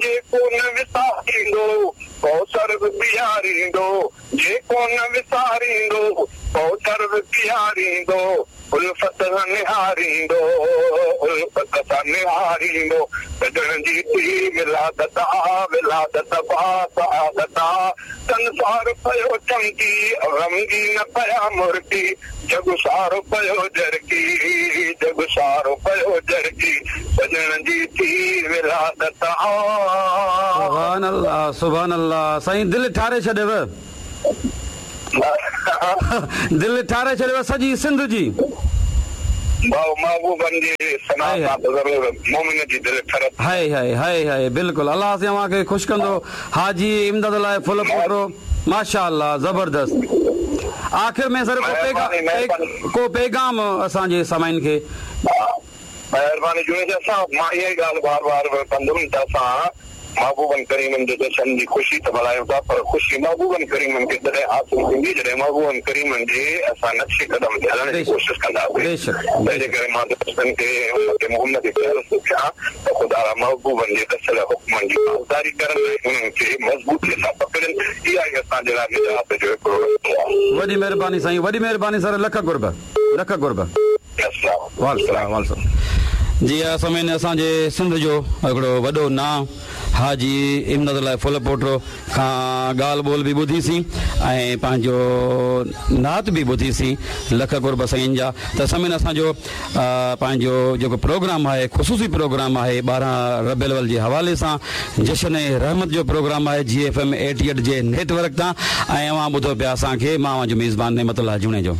جيڪو نه وساريندو، ڪوثر به پياريندو، جيڪو نه وساريندو، ڪوثر به پياريندو، الفت سان نهاريندو، الفت سان نهاريندو، سڄڻ جي ٿي ولادت آ، ولادت باسعادت آ، سنسار پيو چمڪي، غمگين پيا مرڪي، جڳ سارو پيو جرڪي، جڳ سارو پيو جرڪي، سڄڻ جي ٿي ولادت آ. سبحان الله سبحان الله سائين دل ٺاري ڇڏيو دل ٺاري ڇڏيو سڄي سنڌ جي. ڀائو محبوبن جي ثنا سان ته ضرور مومن جي دل ٺرندي. هائي هائي هائي هائي بلڪل الله سائين اوهان کي خوش ڪندو حاجي امداد الله ڦلپوٽو ماشاء الله زبردست آخر ۾ سر ڪو ڪو پيغام اسان جي سامعين کي. مهرباني جوڻيجا صاحب مان اها ئي ڳالهه بار بار ڪندم ته اسان محبوبن ڪريمن جي جشن جي خوشي ته ملهايون ٿا پر خوشي محبوبن ڪريمن کي تڏهن حاصل ٿيندي جڏهن محبوبن ڪريمن جي اسان نقش قدم تي هلڻ جي ڪوشش ڪنداسين تنهن جي ڪري مان دوستن کي ۽ امت محمدي کي عرض ٿو ڪيان ته خدارا محبوبن جي ڏسيل حڪمن جي پاسداري ڪرن ۽ انهن کي مضبوطي سان پڪڙين اها ئي اسان جي لاء نجات جو هڪڙو رستو آهي. وڏي مهرباني سائين وڏي مهرباني سر لک قرب لک قرب. السلام. وعليڪم جي ها سامعين اسان جي سنڌ جو هڪڙو وڏو نانء حاجي امداد الله ڦلپوٽو کان ڳالهه ٻولهه به ٻڌي سين ۽ پنهنجو نعت به ٻڌي سين لک قرب سائين جا ته سامعين اسان جو پنهنجو جيڪو پروگرام آهي خصوصي پروگرام آهي 12 ربيع الاول جي حوالي سان جشن رحمت جو پروگرام آهي جي ايف ايم ايٽي ايٽ جي نيٽ ورڪ تان ۽ اوهان ٻڌو پيا اسان کي مان اوهان جو ميزبان نعمت الله جوڻيجو.